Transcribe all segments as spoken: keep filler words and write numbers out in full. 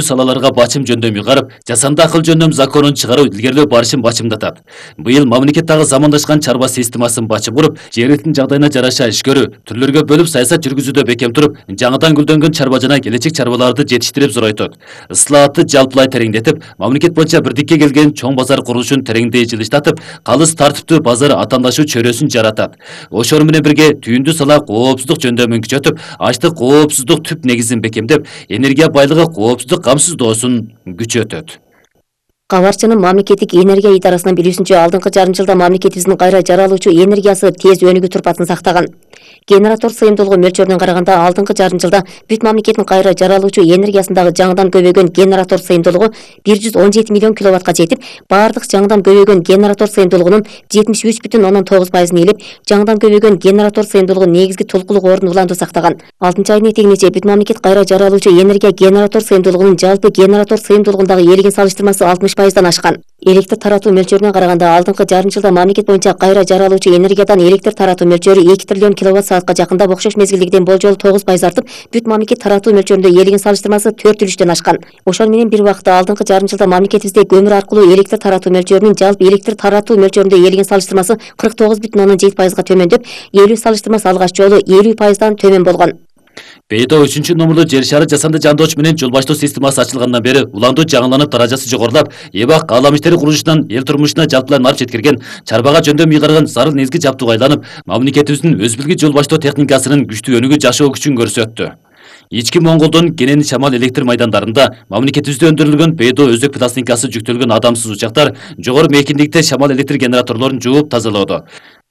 салаларга бачым жөндөм уйгарып, жасанды акыл жөндөм законун чыгаруу илгерилөө барышын бачымдатат. Быйыл мамлекеттеги замандашкан чарба системасын бачым куруп, жергиликтин жагдайына жараша иш көрүү, түрлөргө бөлүп саясат жүргүзүүдө бекем туруп, жаңыдан гүлдөнгөн чарба жана келечек чарбаларды жетиштирип зоройтот. Ыслаатты жалпылай тереңдетип, мамлекет боюнча бирдикке келген чоң базар курулушун тереңдей жылыштатып, калыс тартиптүү базар атаандашуу чөйрөсүн жаратат. Ошол менен бирге түйүндү сала коопсуздук жөндөмүн күчөтүп, аштык коопсуздук түп негизин бекемдеп, энергия байлыгы коопсуздук камсыздоосун күчөтөт. Кабарчынын мамлекеттик энергия идарасынын билүүсүнчө, алдыңкы жарым жылда мамлекетибиздин кайра жаралуучу энергиясы тез өнүгүү турпатын сактаган. Генератор сыйымдуулугу мөлчөрүнөн караганда алдыңкы жарым жылда бүт мамлекеттин кайра жаралуучу энергиясындагы жаңыдан көбөйгөн генератор сыйымдуулугу бир жүз он жети миллион киловаттка жетип, бардык жаңыдан көбөйгөн генератор сыйымдуулугунун жетимиш үч бүтүн ондон тогуз пайызын ээлеп, жаңыдан көбөйгөн генератор сыйымдуулугу негизги тулкулук ордун уланду сактаган. алтынчы айдын этегинече бүт мамлекет кайра жаралуучу энергия генератор сыйымдуулугунун жалпы генератор сыйымдуулугундагы ээлигин салыштырмасы алтымыш пайыздан ашкан. Электр таратуу мөлчөрүнө караганда алдыңкы жарым жылда мамлекет боюнча кайра жаралуучу энергиядан электр таратуу мөлчөрү эки триллион киловатт саатка жакында окшош мезгилдегиден болжол тогуз пайыз артып, бүт мамлекет таратуу мөлчөрүндө ээлигин салыштырмасы төрт үлүштөн ашкан. Ошол менен бир убакытта алдыңкы жарым жылда мамлекетибизде көмүр аркылуу электр таратуу мөлчөрүнүн жалпы электр таратуу мөлчөрүндө ээлигин салыштырмасы кырк тогуз бүтүн ондон жети пайызга төмөндөп, ээлүү салыштырмасы алгач жолу элүү пайыздан төмөн болгон. Бейдо үчүнчү номурлуу жер шары жасанды жандооч менен жол баштоо системасы ачылгандан бери уландуу жаңыланып, даражасы жогорулап, эбак аалам иштери курулушунан эл турмушуна жалпылай нарып жеткирген, чарбага жөндөм уйгарган зарыл негизги жабдууга айланып, мамлекетибиздин өз билги жол баштоо техникасынын күчтүү өнүгүү жашоо күчүн көрсөттү. Ички Монголдун Кенен Шамал электр майдандарында мамлекетибизде өндүрүлгөн Бейдо өзөк пластинкасы жүктөлгөн адамсыз учактар жогору мейкиндикте шамал электр генераторлорун жууп тазалоодо.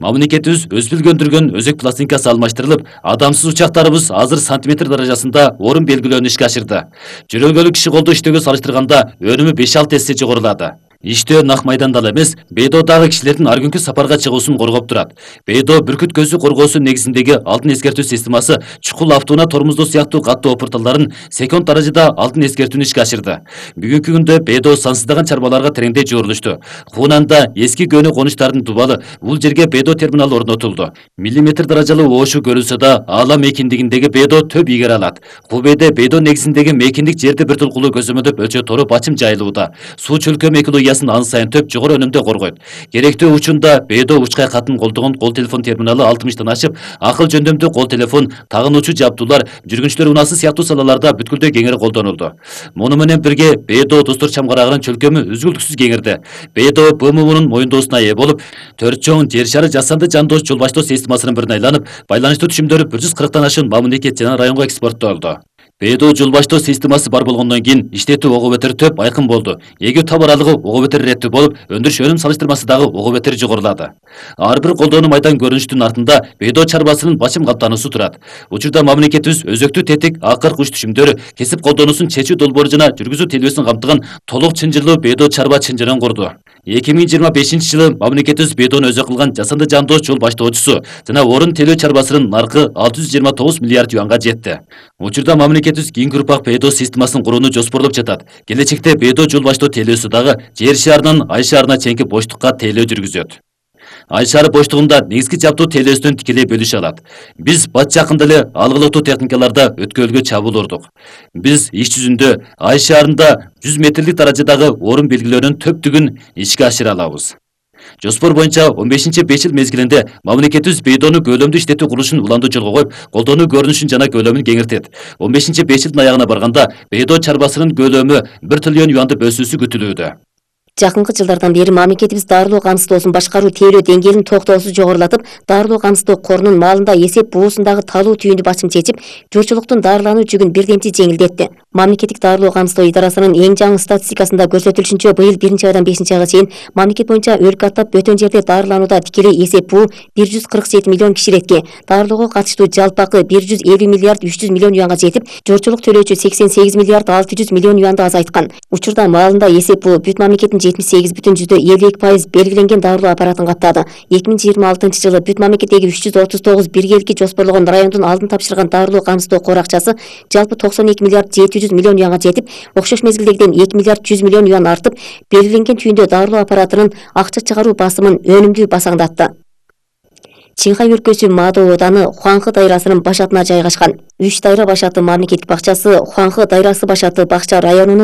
Мамлекетибиз өз билги өндүргөн өзөк пластинкасы алмаштырылып, адамсыз учактарыбыз азыр сантиметр даражасында орун белгилөөнү ишке ашырды. Жөрөлгөлүк киши колдо иштөөгө салыштырганда өнүмү беш алты эсе жогорулады. Иштөө нак майданда эле эмес, Бейдодагы кишилердин ар күнкү сапарга чыгуусун коргоп турат. Бейдо бүркүт көзү коргоосу негизиндеги алдын эскертүү системасы чукул автоунаа тормоздоо сыяктуу катуу опурталдарын секунд даражада алдын эскертүүнү ишке ашырды. Бүгүнкү күндө Бейдо сансыздаган чарбаларга тереңдей жуурулушту. Хунанда эски көөнү конуштардын дубалы, бул жерге Бейдо терминалы орнотулду. Миллиметр даражалуу оошу көрүлсө да, аала мейкиндигиндеги Бейдо төп ийгере алат. Хубейде Бейдо негизиндеги мейкиндик жерди бир тулкулуу көзөмөлдөп өлчө тору бачым жайылууда. Суу чөлкөө мейкилүү ан сайын төп жогору өнүмдө коргойт. Керектүү учунда Бейдо учкай катын колдогон кол телефон терминалы алтымыштан ашып, акыл жөндөмдүү кол телефон, тагынуучу жабдуулар, жүргүнчүлөр унаасы сыяктуу салаларда бүткүлдөй кеңири колдонулду. Муну менен бирге Бейдо достур чамгарагынын чөлкөмү үзгүлтүксүз кеңирди. Бейдо Б М Унун моюндоосуна ээ болуп, төрт чоң жер шары жасанды жандооч жол баштоо системасынын бирине айланып, байланыштуу түшүмдөрү бир жүз кырктан ашуун мамлекет жана районго экспорттолду. Бейдо жол баштоо системасы бар болгондон кийин иштетүү ого бетер төп айкын болду. Эгүү таб аралыгы ого бетер иреттүү болуп, өндүрүш өнүм салыштырмасы дагы ого бетер жогорулады. Ар бир колдонуу майдан көрүнүштүн артында Бейдо чарбасынын бачым каптануусу турат. Учурда мамлекетибиз өзөктүү тетик, акыр куч түшүмдөрү, кесип колдонуусун чечүү долбоору жана жүргүзүү телбесин камтыган толук чынжырлуу Бейдо чарба чынжырын курду. эки миң жыйырма бешинчи жылы мамлекетибиз Бейдону өзөк кылган жасанды жандооч жол баштоочусу жана орун телөө чарбасынын наркы алты жүз жыйырма тогуз миллиард юанга жетти. Учурда мамлекетибиз кийинки урпак Бейдо системасын курууну жоспорлоп жатат. Келечекте Бейдо жол баштоо телөөсү дагы жер шаарынан ай шаарына чейинки боштукка телөө жүргүзөт. Ай шаары боштугунда негизги жабдуу телөөсүнөн тикелей бөлүшө алат. Биз бат жакында эле алгылыктуу техникаларда өткөлгө чабуул урдук. Биз иш жүзүндө ай шаарында жүз метрлик даражадагы орун белгилөөнүн төптүгүн ишке ашыра алабыз. Жоспор боюнча он бешинчи беш жыл мезгилинде мамлекетибиз Бейдону көөлөмдүү иштетүү курулушун уланду жолго коюп, колдонуу көрүнүшүн жана көлөмүн кеңиртет. он бешинчи беш жылдын аягына барганда Бейдо чарбасынын көлөмү бир триллион юанды өсүүсү күтүлүүдө. Жакынкы жылдардан бери мамлекетибиз дарылоо камсыздоосун башкаруу тейлөө деңгээлин токтоосуз жогорулатып, дарылоо камсыздоо корунун маалында эсеп буусундагы талуу түйүндү бачым чечип, журтчулуктун дарылануу жүгүн бирдемчи жеңилдетти. Мамлекеттик дарылоо камсыздоо идарасынын эң жаңы статистикасында көрсөтүлүшүнчө, быйыл биринчи айдан бешинчи айга чейин мамлекет боюнча өлкө аттап бөтөн жерде дарыланууда тикелей эсеп буу бир жүз кырк жети миллион киши иретке, дарылоого катыштуу жалпы акы бир жүз элүү миллиард үч жүз миллион юанга жетип, журтчулук төлөөчү сексен сегиз миллиард алты жүз миллион юанды азайткан. Учурда маалында эсеп буу бүт мамлекеттин жетимиш сегиз бүтүн жүздө элүү эки пайыз белгиленген дарылоо аппаратын каптады. эки миң жыйырма алтынчы жылы бүт мамлекеттеги үч жүз отуз тогуз биргеликке жоспорлогон райондун алдын тапшырган дарылоо камсыздоо кор акчасы жалпы токсон эки миллиард жети жүз миллион юанга жетип, окшош мезгилдегиден эки миллиард жүз миллион юан артып, белгиленген түйүндө дарылоо аппаратынын акча чыгаруу басымын өнүмдүү басаңдатты. Чиңхай өлкөсү Мадоо ооданы Хуаңхы дайрасынын башатына жайгашкан. Үч дайра башаты мамлекеттик бакчасы Хуаңхы дайрасы башаты бакча районунун